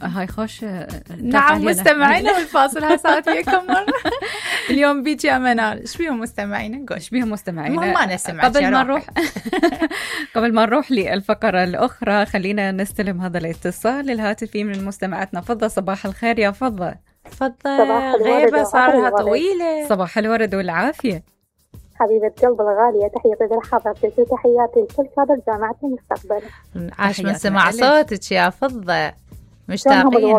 هاي خوش. نعم مستمعينا بالفاصل هاي صارت وياكم مرة. اليوم بيك يا منال، ايش بيهم مستمعينا؟ ايش بيهم مستمعينا؟ ما نسمع. قبل ما نروح للفقرة الأخرى خلينا نستلم هذا الاتصال الهاتفي من مستمعتنا فضة. صباح الخير يا فضة. غيبة صارها طويلة. صباح الورد والعافية حبيبة قلب الغالية، تحياتي لحضرتك وتحياتي لكل كادر جامعة المستقبل. عاش من سمع صوتك يا فضة، مشتاقين.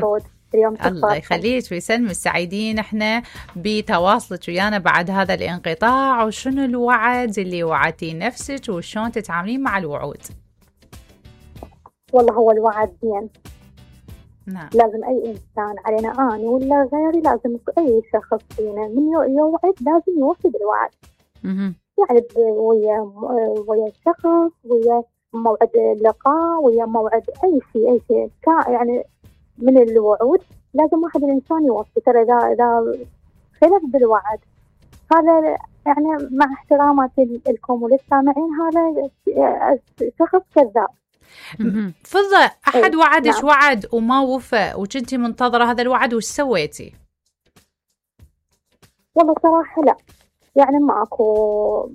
الله يخليك ويسلمك، سعيدين احنا بتواصلك ويانا بعد هذا الانقطاع. وشنو الوعد اللي وعدتي نفسك وشون تتعاملين مع الوعود؟ والله هو الوعد زين. نعم. لازم أي إنسان علينا أنا ولا غيري، لازم أي شخص فينا من يوعد لازم يوفي بالوعد. يعني ويا الشخص، ويا موعد اللقاء، ويا موعد أي شيء يعني من الوعود لازم واحد الإنسان يوفي. ترى إذا خلف بالوعد هذا يعني مع احتراماتي لكم وللسامعين هذا شخص كذاب. فضة، أحد وعدش وعد وما وفى وكنتي منتظرة هذا الوعد، وش سويتي؟ والله صراحة لا، يعني ما أكو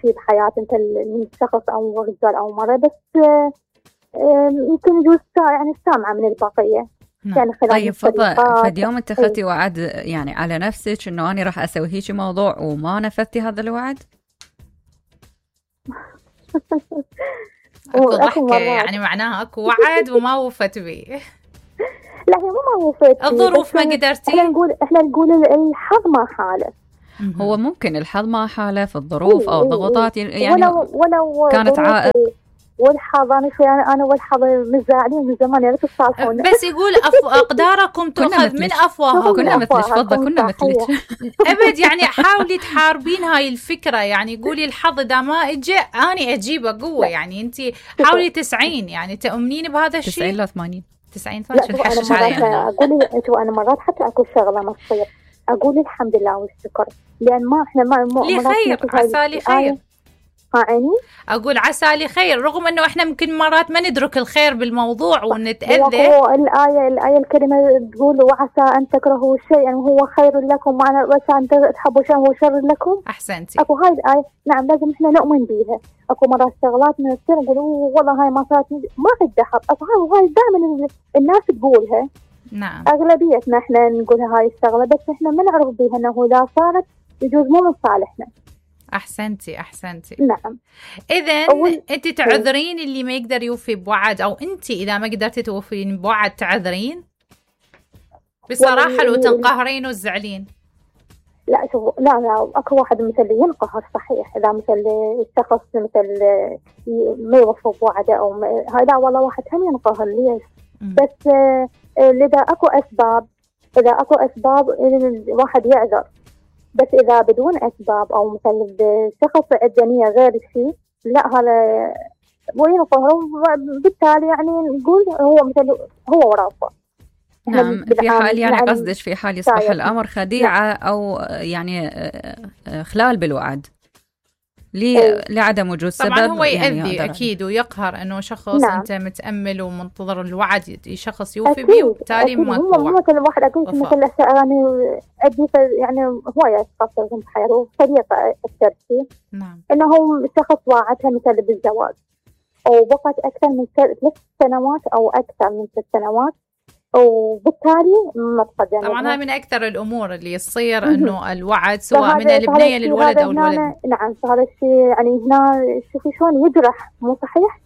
شيء بحياتي أنت من شخص أو رجال أو مرة، بس يمكن يجوز يعني سامعة من البقية. يعني طيب فضة، فد يوم اتخذتي وعد يعني على نفسك إنه أنا راح أسوي هيك موضوع وما نفذتي هذا الوعد؟ أكو ضحكة يعني معناها أكو وعد وما وفت بيه. لا هي ما وفت، الظروف ما قدرتي. احنا نقول الحظ ما حالف. هو ممكن الحظ ما حالف، الظروف أو ضغوطات يعني ولو كانت عائق. والحظ أنا والحظ متزاعلين من زمان، يا ريت تصالحونا. بس يقول أقداركم تؤخذ من أفواهكم. كنا مثلك فضة، كنا مثلك. أبد يعني حاولي تحاربين هاي الفكرة، يعني قولي الحظ إذا ما إجا أنا أجيبه قوة. يعني أنت حاولي 90، يعني تؤمنين بهذا الشيء. 90 لا 80 90 تحشش عليها. أقولي أنا مرات حتى أكو شغلة ما تصير أقول الحمد لله والشكر، لأن ما إحنا ما لخير، عسى لي خير. عيني أقول عسى لي خير، رغم أنه إحنا ممكن مرات ما ندرك الخير بالموضوع ونتأذى. الآية الكريمة تقول وعسى أن تكرهوا شيئا وهو خير لكم، وعسى أن تحبوا شيئا وهو شر لكم. أحسنتي. أكو هاي الآية نعم لازم إحنا نؤمن بيها. أكو مرات شغلات من السر نقول والله هاي ما صارت، ما عندها حق. أكو هاي دائما الناس تقولها. نعم. أغلبيتنا إحنا نقولها هاي الشغلة، بس إحنا ما نعرف بيها أنه إذا صارت يجوز مو من صالحنا. أحسنتي. نعم. إذن أنت تعذرين اللي ما يقدر يوفي بوعد، أو أنت إذا ما قدرتي توفين بوعد تعذرين بصراحة لو تنقهرين وتزعلين؟ لا شوف، لا أكو واحد مثل ينقهر صحيح إذا مثل الشخص مثل ما يوفي بوعده أو هذا، والله واحد هم ينقهر. ليش؟ بس إذا أكو أسباب الواحد يعذر. بس إذا بدون أسباب أو مثل الشخص عنده نية غير الشيء، لا هذا وينقهر، بالتالي يعني نقول هو مثل هو ورافه. نعم. في حال يعني قصدك في حال يصبح الأمر خديعة أو يعني خلال بالوعد لعدم وجود سبب. طبعا هو يأذي يعني أكيد ويقهر إنه شخص أنت متأمل ومنتظر الوعد شخص يوفي به، وبالتالي ما هو مثل واحد أقول مثل يعني أدي يعني هواية قصة في حياته صديقة الترسي. نعم. إنه شخص واعدها مثل بالزواج وبقت أكثر من 3 سنوات أو أكثر من 6 سنوات، وبالتالي ما تقدم. طبعا هاي من أكثر الأمور اللي يصير إنه الوعد سواء من البنية للولد أو الولد. نعم هذا الشيء يعني هنا شوفي شلون يجرح، مو صحيح؟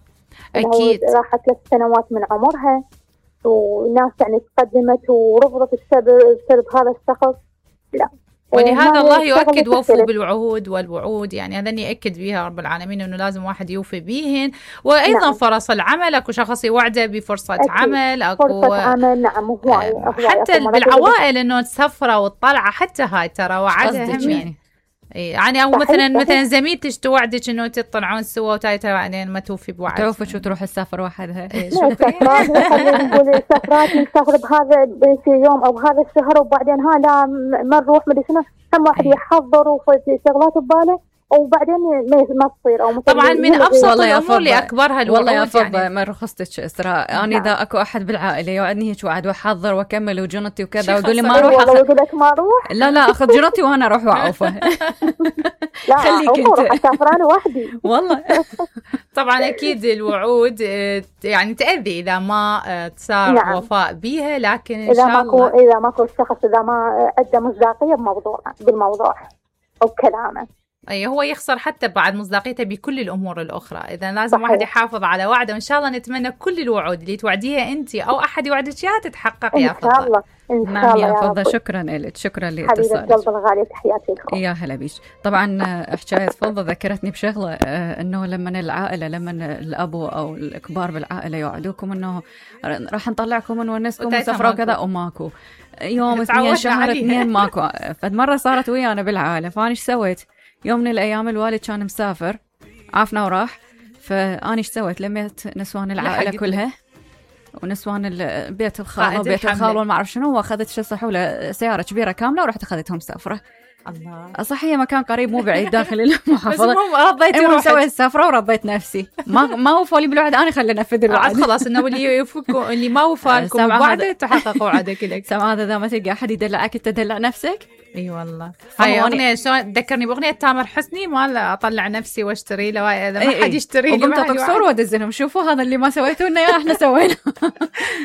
أكيد. راحت 3 سنوات من عمرها والناس يعني تقدمت ورفضت بسبب هذا الشخص. لا، ولهذا الله يؤكد وفوا بالوعود والوعود، يعني هذا يأكد بها رب العالمين أنه لازم واحد يوفي بيهن. وأيضا نعم. فرص العمل، أكو شخص يوعده بفرصة أكيد. عمل، أكو فرصة عمل. نعم حتى بالعوائل أنه تسفرة وتطلع، حتى هاي ترى وعدها هم يعني أو مثلا زميلتك توعدك إنه تطلعون سوا وتايتا بعدين ما توفي بوعد، تعرف شو تروح السفر وحدها. نقول سفرات نسافر بهذا في يوم أو بهذا الشهر، وبعدين لا ما نروح مدري شنو. هم واحد يحضر وفي شغلات بباله وبعدين ما تصير او طبعا من ابسط الامور لاكبرها الوعود. والله يا فضة يعني ما رخصتش اسراء انا اذا اكو احد بالعائله يوعدني هيك وعد واحضر واكمل وجنطي وكذا ويقول لي ما اروح يقول لك ما اروح لا اخذ جنطي وانا اروح واعوفه. لا خليك انت اسافر انا وحدي والله. طبعا اكيد الوعود يعني تاذي اذا ما صار وفاء بيها، لكن ان شاء الله اذا ماكو الشخص اذا ما ادى مصداقيه بالموضوع او كلامه، اي هو يخسر حتى بعد مصداقيته بكل الامور الاخرى. اذا لازم واحد يحافظ على وعده، وان شاء الله نتمنى كل الوعود اللي توعديها انت او احد يوعدك اياها تتحقق يا فضة. ان شاء الله ان شاء الله يا فضة. شكرا لك، شكرا لاتصالك حبيبه قلب الغاليه، تحياتي لكم. يا هلا بيش. طبعا حكايه فضة ذكرتني بشغله، انه لما العائله لما الابو او الكبار بالعائله يوعدوكم انه راح نطلعكم ونونسكم وسفره وكذا، وماكو يوم 2 شهر 2 ماكو. فمره صارت ويانا بالعائله، فانا ايش سويت؟ يوم من الأيام الوالد كان مسافر عافنا وراح، فأنا إيش سويت؟ لميت نسوان العائلة كلها ونسوان بيت الخال وبيت الخال وما أعرف شنو، وأخذت شو صحولة سيارة كبيرة كاملة ورحت أخذتهم سافرة. الله. صحيح مكان قريب مو بعيد داخل المحافظة. بس رضيتي روحك. سويت السفرة وربيت نفسي. ما وفوا لي بالوعد، أنا خلينا أنفذ الوعد. خلاص إنه اللي ما وفاكم وعده تحققوا وعدك لك. سمع هذا إذا ما تلقى أحد يدلعك تدلع نفسك. اي والله. هاي اغنيه شلون تذكرني باغنيه تامر حسني مال اطلع نفسي واشتري له، اذا ما حد يشتري لي وقمت تكسر وادزنهم شوفوا هذا اللي ما سويتوا لنا احنا سوينا.